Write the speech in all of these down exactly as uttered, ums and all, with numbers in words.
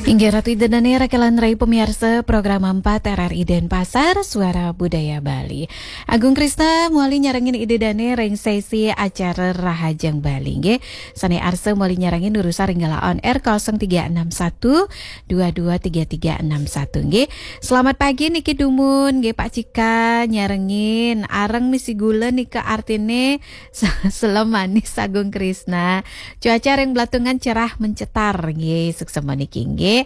Inggih Ratu Ida Dane, rakelan rai pamiarsa Program empat R R I Denpasar, Suara Budaya Bali. Agung Krisna mawali nyarengin Ida Dane ring sesi acara Rahajeng Bali, nggih. Sane arsa mawali nyarengin nurusan ring galah on air kosong tiga enam satu dua dua tiga tiga enam satu, nggih. Selamat pagi niki dumun, nggih, Pak Cika nyarengin. Areng misi gula nika artine selem manis, Agung Krisna. Cuaca ring Belatungan cerah mencetar, nggih, suksema niki, nggih.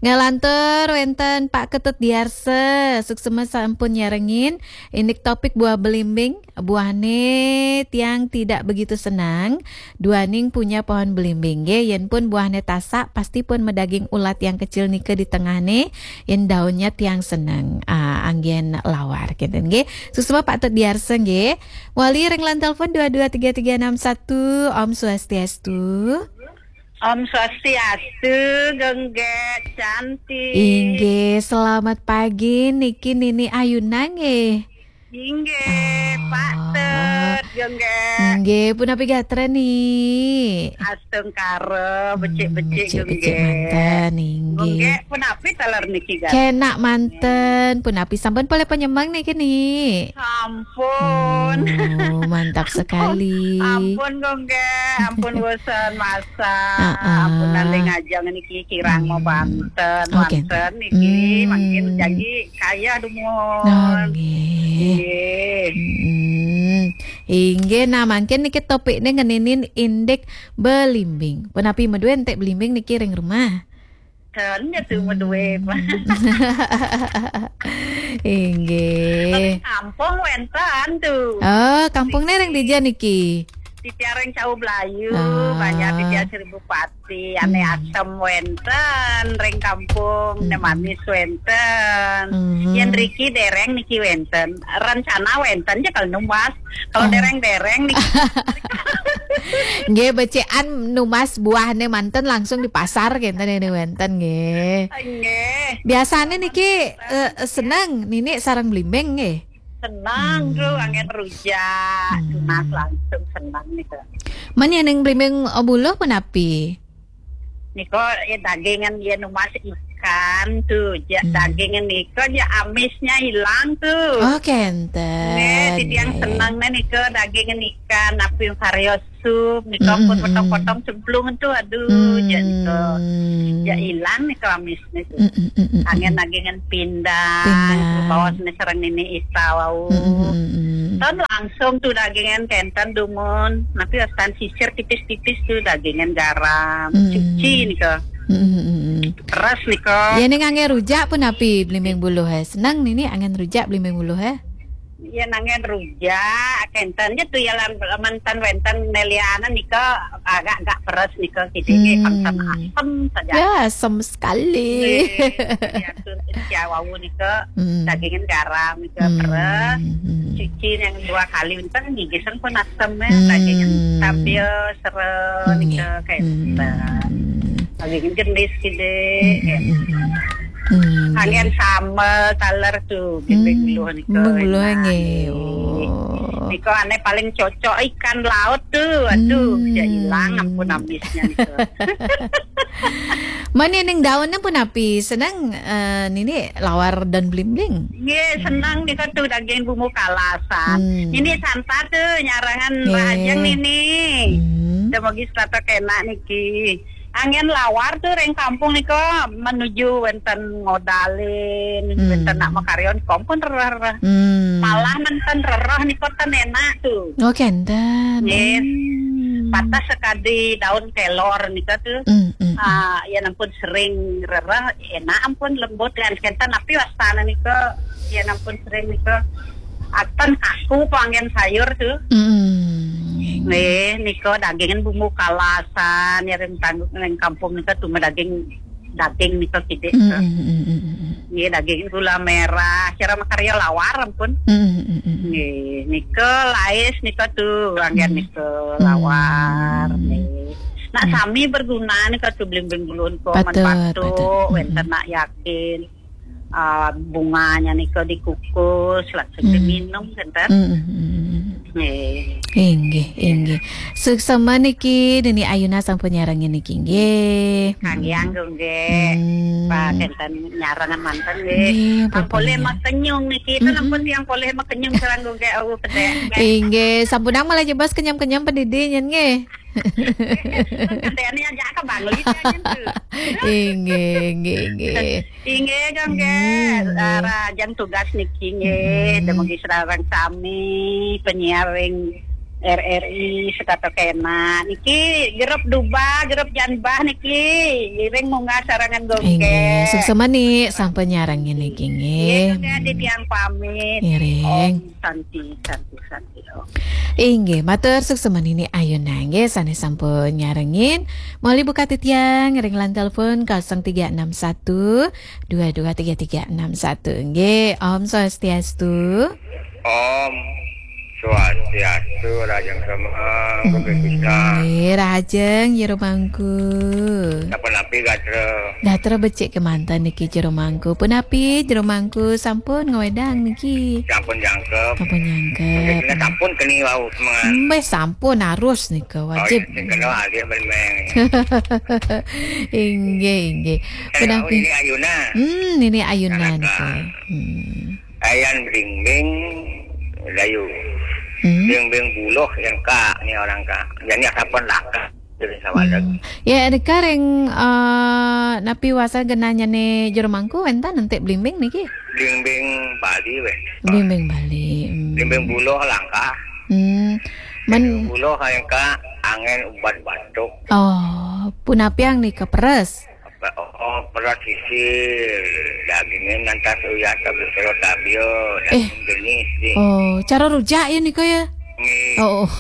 Nglantur wenten Pak Ketut Diarsa, suksema sampun nyarengin. Indik topik buah belimbing, buahne tiang tidak begitu senang, duaning punya pohon belimbing, nggih. Yen pun buahne tasak, pasti pun madaging ulat yang kecil nika di tengahne, yen daunnya tiang senang. Ah, anggen lawar, kenten, nggih. Suksema Pak Ketut Diarsa, nggih. Wali ring line telepon dua dua tiga tiga enam satu. Om Swastiastu. Om Swastiastu, Genggek cantik. Inggih, selamat pagi niki Nini Ayuna nggih. Inggih, Pak Tut, Genggek. Nggih, punapi gatra ni? Astungkara, becik-becik, hmm, becik-becik Genggek. Manten, inggih. Genggek, punapi taler niki gatra? Kenak manten, punapi sampun polih panyemeng niki ni? Sampun. Oh, mantap sekali. Ampun, Genggek. Ampun bosan masak. Heeh. Ampun nalih ngajeng niki kirang, hmm, mabanten, oh, wenten niki. Hmm. Mangkin jagi kayeh dumun. Oh, nggih. Nggih. Hmm. Inggih, nah, mangkin niki topikne ngeninin indik belimbing. Punapi madue entek belimbing niki ring rumah? Ten, ya tu madue, Pak. Inggih. Ring kampung wenten tu. Oh, kampungne ring dija niki? Titiang ring Cau Blayu, oh, banjar titiang Seribu Pati, ane, hmm, asem wenten, ring kampung, ne, hmm, manis wenten. Hmm. Yen riki dereng niki wenten. Rencana wenten ja kalau numbas. Kalau, oh, dereng-dereng niki. Nggih, becikan numbas buahne manten langsung di pasar kenten ini wenten nggih. Nggih. Biasane niki, eh, seneng nini sareng blimbing nggih? Seneng, hmm, tu, anggen rujak, hmm, tunas langsung seneng niku. Men yen ning blimbing, eh, buluh punapi? Nika, ya, dagingan, ya, numbas ikan tu, ja, hmm, dagingan nika, ja, amisnya hilang tu. Oh, kenten. Nggih, titiang, ya, ya, seneng ne nika dagingan ikan, napi karya sup, nika, hmm, pun, hmm, potong-potong cemplung tu, aduh, hmm, ja, nika. Ja, hilang nika amisnya tu. Hmm, hmm, hmm, hmm. Anggen dagingan pindang, pindang, bawas ne sareng nini Ita wau. Hmm, hmm, hmm, hmm. Ten langsung tu dagingan kenten dumun, napi wastan sisir tipis-tipis tu dagingan garam, hmm, cuci nika. Hmm, hmm, hmm, hmm. Peres nika. Ya, ning anggen rujak punapi blimbing buluh, eh? Seneng nini anggen rujak blimbing buluh, eh? Ya, anggen rujak, kenten ja tu ya lan manten wenten nelianan nika agak-agak peres nika, kidinge, hmm, asem-asem saja. Ya, asem sekali. Nggih, ya tu ya wau nika, hmm, dagingan garam nika, hmm, peres. Hmm. Cuci yang dua kali, enten gigisan pun asem ya, hmm, dagingan stabil, sera, hmm, nika, ya, kenten. Hmm. Dagingan gendis kide, hmm, ya. Hmm, hmm, hmm. Hmm. Anggen sambel taler tu, hmm, blimbing buluh nika, buluh enak nggih. Nggih. Oh. Nika ane paling cocok ikan laut tu. Aduh, hmm, ja hilang ampun amisnya nika. Men ning daunnya punapi? Seneng, eh, nini lawar daun blimbing? Nggih, seneng nika tu daging bumbu kalasan. Hmm. Nini santa tu nyarengan, nggih, Rahajeng nini. Hmm. Dumugi serata kena niki. Anggen lawar tu ring kampung nika menuju wenten ngodalin, hmm, wenten nak makarya nika ampun rereh-rereh. Hmm. Malah nenten rereh nika ten enak tu. Oh, kenten. Nggih. Hmm. Patah sekadi daun kelor nika tu. Hmm, hmm, hmm. Ah, ya ampun sering rereh, enak ampun lembut kan kenten, tapi wastane nika ya ampun sering nika aten kaku panggen sayur tu. Hmm. Nggih, nika dagingan bumbu kalasan, ya ring tanggung ring kampung nika tu daging, daging nika kidik. Hmm, tu. Hmm, hmm, hmm, hmm. Nggih, daging gula merah, cara makarya lawar ampun. Hmm, hmm, hmm, hmm. Nggih, nika lais nika tu, anggen, hmm, nika lawar, hmm, nggih. Nak, hmm, sami berguna nika tu blimbing buluh nika, men patut, batuk, patut. Hmm. Wenten nak yakin. Ah, bunganya nika dikukus, langsung, hmm, diminum, kenten. Hmm, hmm, hmm, hmm. Nggih. Inggih, inggih. Suksma niki, Nini Ayuna sampun nyarengin niki, nggih. Kangge anggo nggih. Hmm. Pak enten nyarengan manten nggih. Nggih, Ang polih pun. Makenyung niki, itu Mm-mm. Nempun tiang polih makenyung sareng nggih, awu pedek. Inggih, sampunang malah jebos kenyam-kenyam pendidi nyen nggih. Katanya aja ke Bangli nyen tuh. Inggih, inggih, inggih. Inggih, Kang, nggih. Hmm, nggih. Rahajeng tugas niki, nggih. Hmm. Dumugi sareng sami penyiar ring R R I Setata Kena. Niki grup Duba, grup Janbah niki. Iring munggah sarengan, nggih. Inggih, suksma ni sampun nyarengin niki, nggih. Nggih, nggih, titiang pamit. Iring. Om Santi, Santi, Santi, Om. Inggih, matur suksma Nini Ayuna nggih sane sampun nyarengin. Moli buka titiang ring line telepon kosong tiga enam satu dua dua tiga tiga enam satu. Nggih, Om Swastiastu. Om Swastiastu, rahajeng semeng, Bapak Ibu. Nggih, rahajeng jero mangku. Sapunapi gatra? Gatra becik kemanten niki jero mangku. Punapi jero mangku sampun ngwedang niki? Sampun jangkep. Sampun jangkep. Nggih, sampun keni wau semengan. Mbeh, sampun harus nika, wajib. Oh, iya, sing kena alih ben meng. Inggih, inggih. Eh, punapi? Oh, Nini Ayuna. Hmm, Nini Ayuna niki. Hmm. Ayan blimbing layu. Hmm. Blimbing buluh yang ka ni orang ka. Jadi sampun laka. Jadi sawalek. Hmm. Ya, nika ring, eh, napi wasa genahnyane jero mangku wenten enti blimbing niki? Blimbing Bali wenten. Blimbing Bali. Hmm. Blimbing buluh langkah. Hmm. Blimbing buluh yang ka angin ubat batuk. Oh, punapiang nika peres? Apa, oh, peres sisil, dagingnya nantas uyah, tapi sero tabio, daging jenis, di. Oh, cara rujak ya nika ya? Nggih. Oh, oh.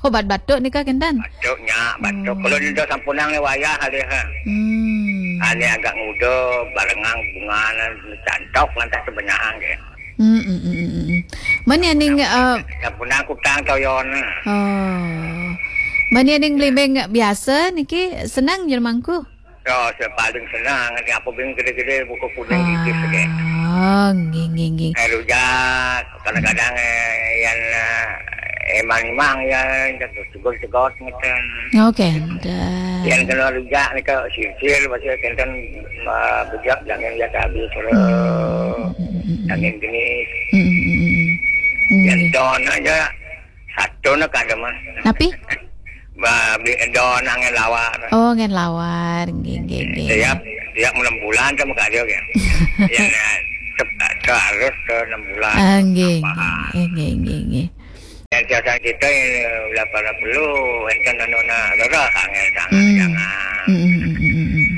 Obat batuk nika kenten? Batuknya, batuk. Oh. Kalau dia sampunang ni wayah alih, ha. Hmm. Ane agak nguda, barengang bunganan, cantok, lantas sebenyahan, ya. Hmm, hmm, hmm, hmm, hmm. Mani aning, eh, sampunang kutang toyon. Oh. Mani aning blimbing biasa niki senang jero mangku? Ya, saya paling senang. Nanti apa bing gede-gede, buku kuning gitu, deh. Ah, nggih, nggih, nggih. Eh, rujak, kadang-kadang, eh, yang, eh, emang-emang ya, cegot-cegot ngeten. Oh, kenten. Yang kena rujak nika sisil, maksudnya kenten, eh, bujak jangan ya habis, hmm, jangan jenis. Hmm, hmm, hmm, hmm. Yang nggih. Don aja. Satu nak ada mah. Napi? Ba, bi-, don angin lawar. Oh, angin lawar. Nggih, nggih, nggih. Tiap, tiap enam bulan sama kali, oke. Ya, nah, sep-, harus ke enam bulan. Ah, nggih, apa? Nggih, nggih, nggih, nggih. Yang biasa kita, eh, ulah pada perlu, enten anu nak, rerah angin, jangan, hmm, jangan. Hmm, hmm, hmm, hmm, hmm.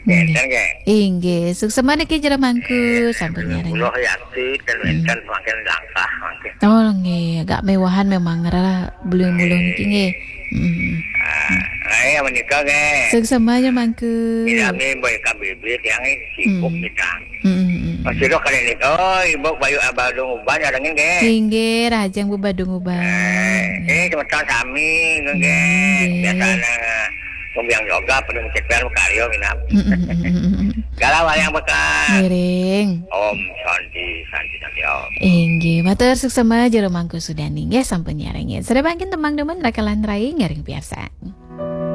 Nggih. Enten, nggih. Inggih, suksma niki jero mangku, eh, sampun nyarengin. Kula yakin ten wenten, hmm, semakin langkah mangkin. Oh, nggih, agak mewahan memang ngerah beliau mulung niki, nggih. Hmm. Ah, ayo menika, nggih. Suksma jero mangku. Tidak, nggih, boy K B B tiang, eh, sibuk, hmm, kita. Hmm, hmm, hmm. Masih doh kali ini. Oh, Ibu Bayu Abadung Uban, nyarengin, nggih. Inggih, rahajeng Bu Badung Uban. Eh, eh, semeton sami, nggih. Nggih. Biasanya Kumbiang yoga, penuh cepetan, karyo, minap. Mm, mm, mm, mm, mm. Galau yang bekas. Miring. Om Santi, Santi, Santi, Om. Inggih, matur suksma jero mangku sudani. Nggih, sampun nyarengin. Sare mangkin tembang demen rakalan rai ngiring piarsa.